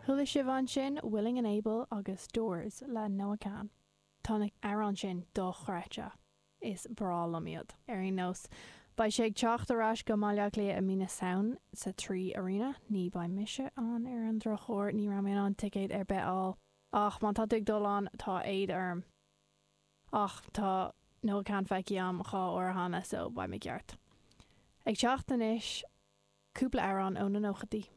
Chuala sibh ansin Willing and Able agus Doors le NoahKan. Tá na hamhráin sin dochreidte. Is breá liom iad. Ar aon nós, beidh sé ag teacht ar ais go mBaile Átha Cliath i mí na Samhna sa Three Arena. Ní beidh mise ann ar an drochuair, ní raibh mé in ann ticéad ar bith a fháil. Ach má tá tú ag dul ann, tá éad orm. Ach tá NoahKan feicthe a'm 2 uair cheana so beidh mé ceart. Ag teacht anois, cúpla amhrán ó na nóchaidí.